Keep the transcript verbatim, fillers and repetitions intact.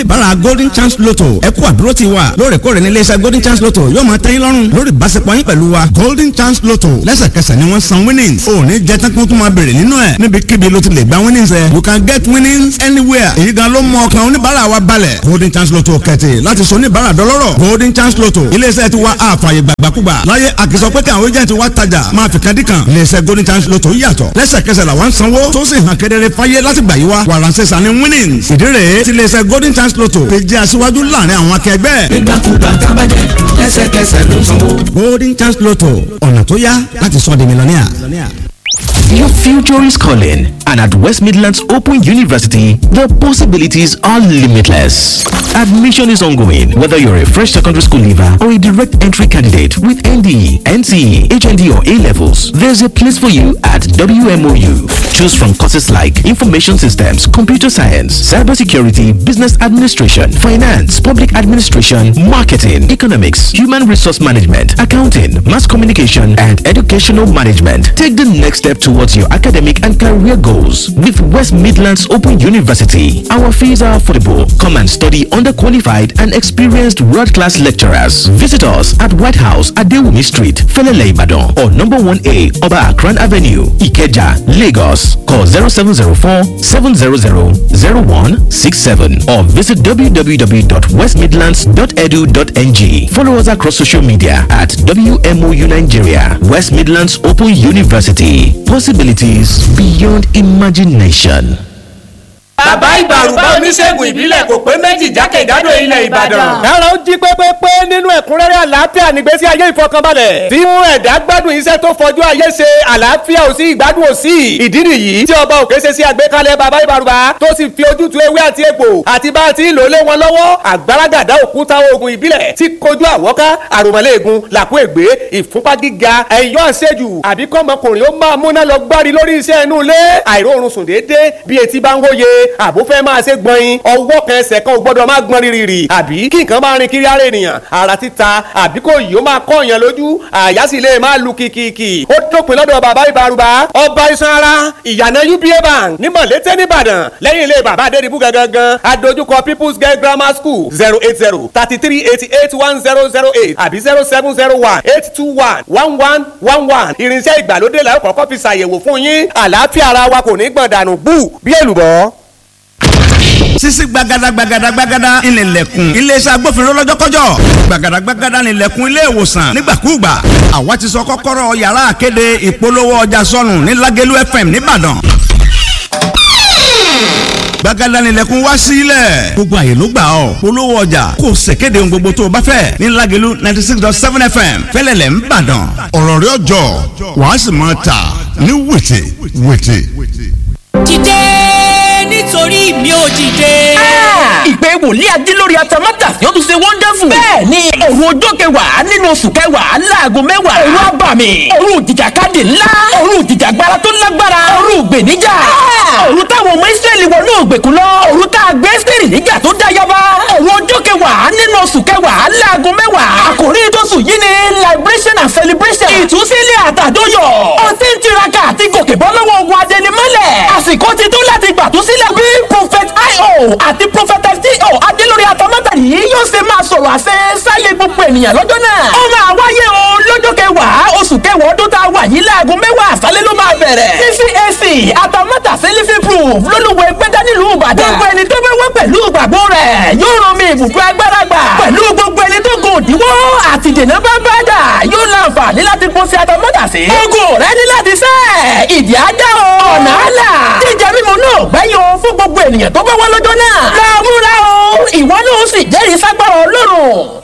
Oníbàárà Golden Chance Lotto, ẹ kú àdúró ti wa. Lóòrèkóòrè ní iléeṣẹ́ Golden Chance Lotto yóò máa tẹ́yìn lọ́rùn lórí ìbáṣepọ̀ yín pẹ̀lú wa. Golden Chance Lotto, lẹ́sẹ̀kẹsẹ̀ ni wọ́n san winnings. Ò ní jẹ́ tán kó tún máa bèrè nínú ẹ̀. Níbikíbi ló ti lè gba winnings ẹ̀. You can get winnings anywhere. Èyí gan ló mú ọkàn oníbàárà wa balẹ̀. Golden Chance Lotto kẹ̀tì láti sọ oníbàárà dọlọ́rọ̀. Golden Chance Lotto, iléeṣẹ́ ti wa àfààyè gbàgbàkúgbà láyé. Àkìsọ pé káwọn agent wa tajà máa fi kan dí kan. Iléeṣẹ́ Golden Chance Lotto yàtọ̀. Lẹ́sẹ̀kẹsẹ̀ làwọn sanwó tó sì hàn kedere fáyé láti gbà yí wa. Wàràǹsẹ̀sà ni winnings. Ìdí rèé tí iléeṣẹ́ Golden Chance Lotto fi jẹ́ aṣíwájú láàrin àwọn akẹgbẹ́. Nígbàkúgbà tábàjẹ́, lẹ́sẹ̀kẹsẹ̀ ló sanwó. Golden Chance Lotto, ọ̀nà tó yá láti sọ di mílíọ̀nìà. Your future is calling, and at West Midlands Open University, the possibilities are limitless. Admission is ongoing, whether you're a fresh secondary school leaver or a direct entry candidate with N D E, N C E, H N D, or A levels. There's a place for you at W M O U. Choose from courses like Information Systems, Computer Science, Cybersecurity, Business Administration, Finance, Public Administration, Marketing, Economics, Human Resource Management, Accounting, Mass Communication, and Educational Management. Take the next step towards your academic and career goals with West Midlands Open University. Our fees are affordable. Come and study under qualified and experienced world-class lecturers. Visit us at White House, Adewumi Street, Felele Ibadan, or number one A, Oba Akran Avenue, Ikeja, Lagos. Call zero seven zero four seven zero zero zero one six seven or visit w w w dot west midlands dot edu dot n g. Follow us across social media at W M O U Nigeria, West Midlands Open University. Possibilities beyond imagination. Bàbá Ìbàrùbá, oníṣègùn ìbílẹ̀ kò pé méjì jákèjádò ilẹ̀ Ìbàdàn. Kára ó jí pépépé nínú ẹ̀kúnrẹ́rẹ́ àlàáfíà nígbésí ayé ìfọkànbalẹ̀. Tí mú ẹ̀dá gbádùn iṣẹ́ tó fojú ayé ṣe, àlàáfíà ò sí, ìgbádùn ò sí. Ìdí nìyí tí ọba òkè ṣe sí àgbékalẹ̀ bàbá Ìbàrùbá tó sì fi ojútùú ewé àti egbò àti bá a ti ń lò lé wọn lọ́wọ́. Àgbàràgàdá òkúta oògùn ìbílẹ̀ tí kojú àwọ́ká, àròmọ̀lẹ́ẹ̀gùn, làkú ègbé, ìfúnpá gíga, ẹ̀yọ́ àṣejù, àbí kọ́mọkùnrin ó máa múná lọ gbárí lórí iṣẹ́ inú ilé, àìróorun sùn déédéé, bí etí bá ń hóye, àbó fẹ́ máa ṣe gbọ̀nyin, ọwọ́ kan ẹsẹ̀ kan ò gbọ́dọ̀ máa gbọ́n rírì, àbí kí nǹkan máa rin kiri ara ènìyàn, ara títa, àbí kò yìí ó máa kọ́ èèyàn lójú, àyà sì lè máa lu kìkìkì. Ó dópin lọ́dọ̀ bàbá Ìbàrùbá, ọba iṣan ara, ìyànà U B A Bank ní Mọ̀lété nìbàdàn, lẹ́yìn ilé bàbá Adédìbú gangan, adójúkọ People's Girl Grammar School. Zero eight zero thirty three eighty eight one zero zero eight àbí zero seven zero one eight two one one one one one. Irinṣẹ́ ìgbàlódé la ó kọ́kọ́ fi ṣàyẹ̀wò fún yín. Àlàáfíà ara wa kò ní gbọ̀n dànù bú bí èlùbọ́. Sisi gbagada gbagada gbagada ìnìlẹ̀kùn iléeṣẹ́ agbófinró lọ́jọ́kọ́jọ́, gbagada gbagada ìnìlẹ̀kùn ilé ìwòsàn nígbàkúùgbà. Àwa ti sọ kọ́kọ́rọ́ yàrá àkéde ìpolówó ọjà sọnù ní Lágẹ̀lú F M nìbàdàn. Gbagada nílẹ̀kùn wá sílẹ̀, gbogbo àyè ló gbà ọ́ polówó ọjà, kò ṣèkéde ohun gbogbo tó o bá fẹ́ ní Lágẹ̀lú ninety six dot seven F M fẹ́lẹ́lẹ̀ ń bàdàn. Ọ̀rọ̀ rẹ̀ ọjọ́, wàá sì máa tà ní wìtì wìtì. Dìde, nítorí mi ò dìde. Ìpè wòlíì Ajílórí Atamátà yóò tún ṣe wonderful. Bẹ́ẹ̀ ni, òru ọjọ́ kẹwàá nínú oṣù kẹwàá, láago mẹ́wàá. Òru abàmì, òru ìjìjàkadì ńlá, òru ìjìjàgbara tó lágbára, òru ìgbèníjà, òru táwọn ọmọ Ísírẹ́lì wọnú ògbèkùn lọ, òru tá a gbé Ẹ́sítérì níjà tó dá yaba. Òru ọjọ́ kẹwàá nínú oṣù kẹwàá, láago mẹ́wàá. Àkòrí tóṣù yìí ni liberation and celebration. Ìtúsílẹ̀ àtàdóyọ̀. Ó ti ń tiraka àti gòkè bọ́ lọ́wọ́ ogun adẹnimọ́lẹ̀. Àsìkò ti tó láti gbàtúsílẹ̀ bí Prophet I O àti Prophet T O Adélórí Atamátà yìí yóò ṣe máa sọ̀rọ̀ àṣẹ sáyé gbogbo ènìyàn lọ́jọ́ náà. Ó máa wáyé o lọ́jọ́ kẹwàá oṣù kẹwàá ọdún tá a wà yìí, láago mẹ́wàá àṣálẹ́ ló máa bẹ̀rẹ̀. C C A C Atamátà Living Proof lólùwẹ̀ gbẹ́dá nílùú Ìbàdàn. Gbogbo ẹni tó bá wá pẹ̀lú ìgbàgbọ́ rẹ̀ yóò rán mi ibùdó agbára gbà. Pẹ̀lú gbogbo ẹni tó gùn òdiwọ́ àti dènà bá bá dà yóò láǹfààní láti pọ̀ sí Atamátà sí. Ogun rẹ ní láti sẹ́ ìdí ajá o. Ọ̀nà àlà jíjẹ mímu náà gbẹ́yìn o fún gbogbo ènìyàn tó bá wá lọ́jọ́ náà. Lọ múra o, ìwọ náà ó sì jẹ́rìí ságbára Ọlọ́run.